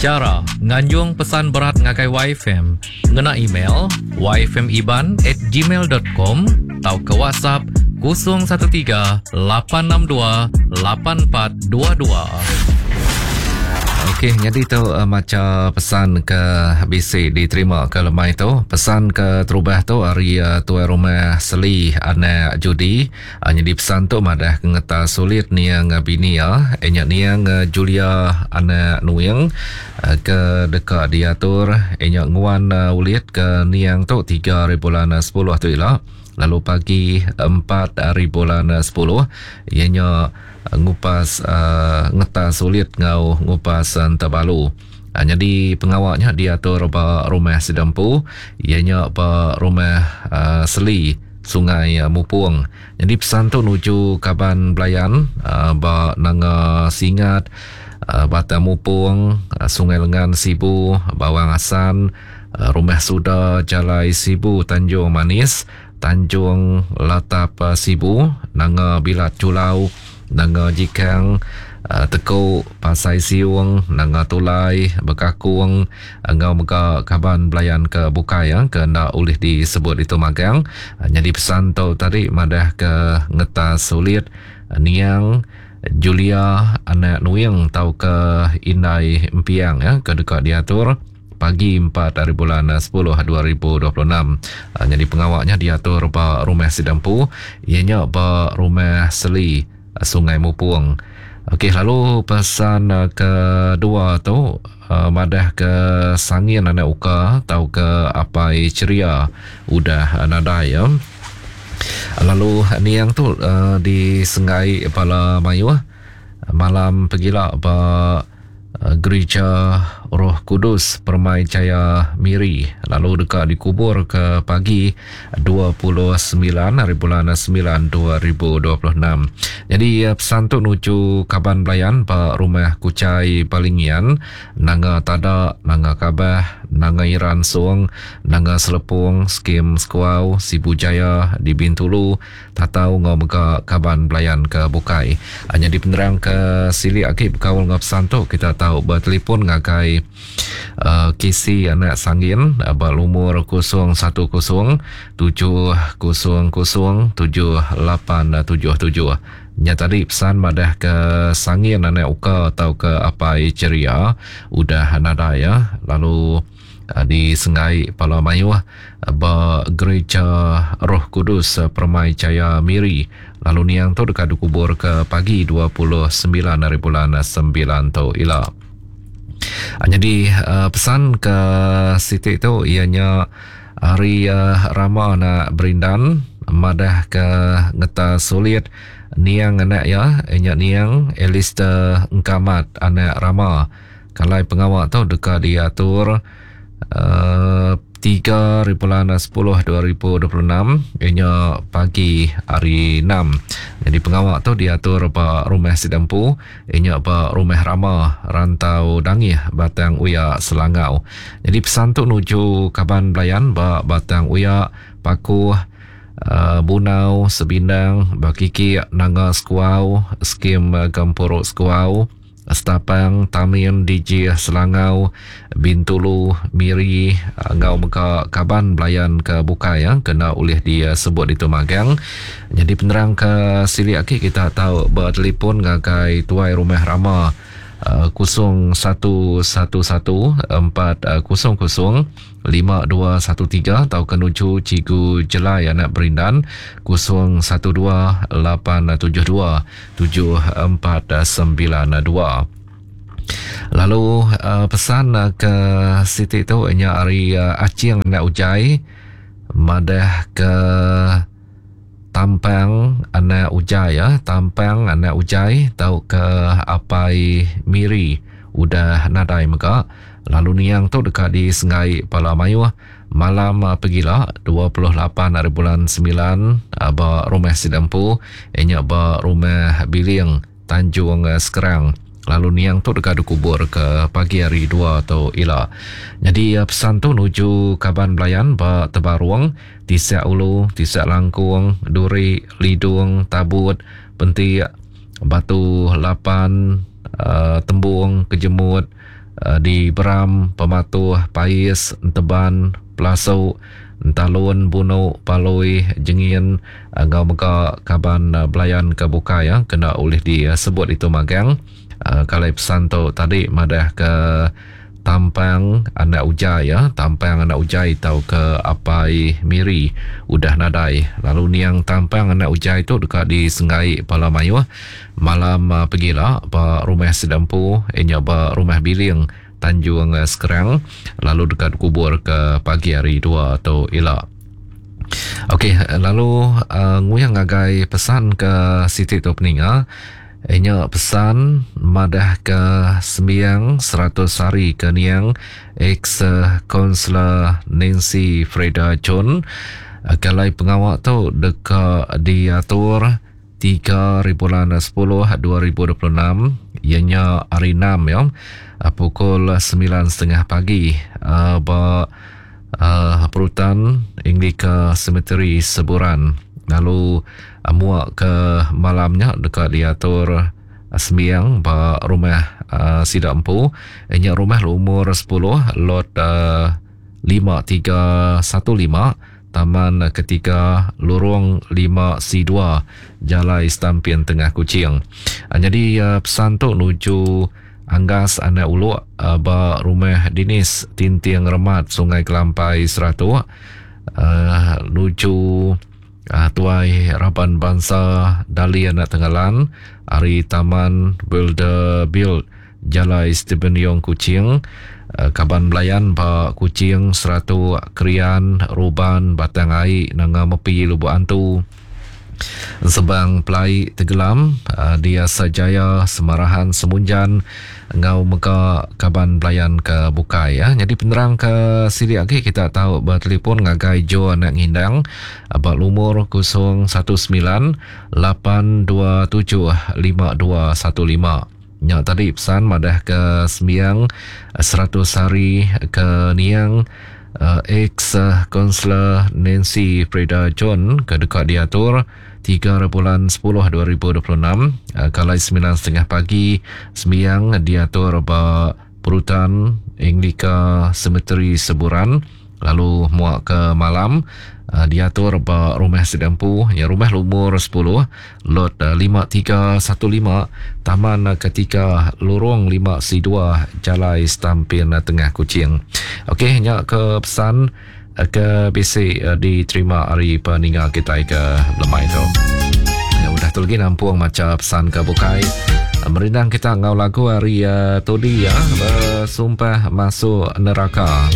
Chara nganjung pesan berat ngagai YFM ngena email yfmiban at gmail dot com tauka WhatsApp 013 862 8422. Okey, nyadi tu uh, macha pesan ke bisi diterima ke lemai tu. Pesan ke terubah tu ari uh, tuai rumah Seli anak Judi. Uh, nyadi pesan tu madah ke ngeta sulit niang bini iya, nya niang Julia anak Nuing uh, ke deka diatur nya nguan uh, ulit ke niang tu 3 hari bulan 10 tu ila. Lalu pagi 4 hari bulan 10 iya nya ngupas ngetas ulit enggau ngupas entebalu. Nyadi pengawa nya diatur ba rumah sida empu iya nya ba rumah Seli Sungai Mupong. Nyadi pesan tu nuju kaban belayan ba Nanga Singat, Batang Mupong, Sungai Lengan Sibu, Bawang Assan, Rumah Suda Jalai Sibu Tanjung Manis, Tanjung Latap Sibu, Nanga Bilat Julau, Nanga Jikang, Teku, Pasai Siung, Nanga Tulai, Bekakung enggau mega kaban belayan ke bukai ke enda ulih disebut ditu magang. Nyadi pesan tu tadi madah ke ngetas ulit niang Julia anak Nuing tauka Indai Empiang ke deka diatur pagi 4 hari bulan 10 2026. Nyadi pengawa nya diatur ba rumah sida empu iya nya ba Rumah Seli, Sungai Mupong. Okey lalu pesan kedua tu madah ke Sangin anak Uka tauka Apai Cheria udah nadai ya. Lalu niang tu disenggai bala mayuh malam pegila ba Gerija Roh Kudus Permai Jaya Miri lalu deka dikubur ke pagi 29 hari bulan 9 2026. Jadi pesan tu nuju kaban belayan ba Rumah Kuchai Balingian, Nanga Tada, Nanga Kabah, Nanga Iran Song, Nanga Selepong, Skim Sekuau, Sibu Jaya di Bintulu, Tatau enggau mega kaban belayan ke bukai. Nyadi penerang ke silik agi bekaul enggau pesan tu kita tau betelefon ngagai uh, KC anak Sanggin ba lumur 010 700 7877. Nya tadi pesan madah ke Sanggin anak Uka atau ke Apai Ceria udah nadai ya. Lalu di Senggai Pala Mayuh ba Gereja Roh Kudus Permai Jaya Miri lalu niang tu deka dikubur ke pagi 29 hari bulan 9 tu ila. Nyadi pesan ke siti tu iya nya ari Rama anak Berindan madah ke ngeta sulit niang anak iya nya niang Alistair Engkamat anak Rama. Kalai pengawa tu deka diatur uh, 3 hari bulan 10 2026 ianya pagi hari 6. Jadi pengawa tu diatur ba Rumah Sidempu ianya ba Rumah Rama Rantau Dangih Batang Uya Selangau. Jadi pesan tu nuju kaban belayan ba Batang Uya Pakuh uh, Bunau Sebindang Bakikik Nanga Sekuau Skim Gempuru Sekuau Stapang, Tamin, Dijih, Selangau, Bintulu, Miri enggau mega kaban belayan ke bukai ke enda ulih disebut ditu magang. Nyadi penerang ke silik agi kita tau betelefon ngagai Tuai Rumah Rama 0111 400 5213 tauka nuju Cikgu Jelai anak Berindan 012 872 7492. Lalu uh, pesan uh, ke siti tu nya ari uh, Acing anak Ujai madah ke Tampang anak Ujai ya, Tampang anak Ujai tauka Apai Miri udah nadai mega lalu niang tu deka disenggai bala mayuh malam pegila 28 hari bulan 9 ba rumah sida empu inya ba rumah Biling Tanjung Sekerang lalu niang tu deka dikubur ke pagi hari 2 tu ila. Nyadi pesan tu nuju kaban belayan ba Tebarung Tisek Ulu, Tisek Langkung, Duri, Lidung, Tabut, Pentik, Batu Lapan, uh, Tembung, Kejemut, Di Beram, Pematuh, Pais, Enteban, Pelasu, Entalun, Bunu, Palui, Jengin enggau mega kaban belayan ke bukai kena ulih disebut ditu magang. Kalai pesan tu tadi madah ke Tampang anak Ujai, Tampang anak Ujai tauka Apai Miri udah nadai lalu niang Tampang anak Ujai tu deka disenggai bala mayuh Malam pegila ba rumah sida empu iya nya ba Rumah Biling, Tanjung Sekerang lalu deka dikubur ke pagi hari dua tu ila. Okey lalu uh, nguyang ngagai pesan ke siti tu peninga iya nya pesan madah ke sembiang 100 hari ke niang ex konselor Nancy Freda John kalai pengawa tu deka diatur 3 ribulan 10 2026 iya nya hari 6 ya pukul 9.30 pagi ba Perutan Anglica Cemetery Seburan lalu muak ke malam nya deka diatur sembiang ba rumah sida empu iya nya rumah lumur 10 lot 5315 Taman Ketiga Lurung 5C2 Jalai Stampin Tengah Kuching. Nyadi pesan tu nuju Anggas anak Uluk ba Rumah Dinis Tinting Remat Sungai Kelampai Seratok nuju Tuai Raban Bansa Dali anak Tengalan ari Taman Builder Build Jalai Stephen Yong Kuching, Kaban Belayan ba Kuching, Seratok, Krian, Ruban, Batang Ai, Nanga Mepi, Lubok Antu, Ensebang Pelai Tegelam, di Asajaya, Semarahan, Semunjan enggau mega kaban belayan ke bukai. Nyadi penerang ke silik agi kita tau betelefon ngagai Joe Anak Ngindang ba lumur 019 827 5215. Nya tadi pesan madah ke sembiang 100 hari ke niang ex Konselor Nancy Freda John ke deka diatur 3 bulan 10 2026 kalai 9.30 pagi sembiang diatur ba Perutan Anglica Cemetery Seburan lalu muak ke malam diatur ba rumah sida empu nya rumah lumur 10 lot 5315 Taman Ketika Lorong 5C2 Jalai Stampin Tengah Kuching. Okey nya ke pesan ke bisi diterima ari peninga kitai ke lemai tu. Ya, udah tu lagi nampung macha pesan ke bukai. Merindang kita enggau lagu ari uh, Todi ya, bersumpah masuk neraka.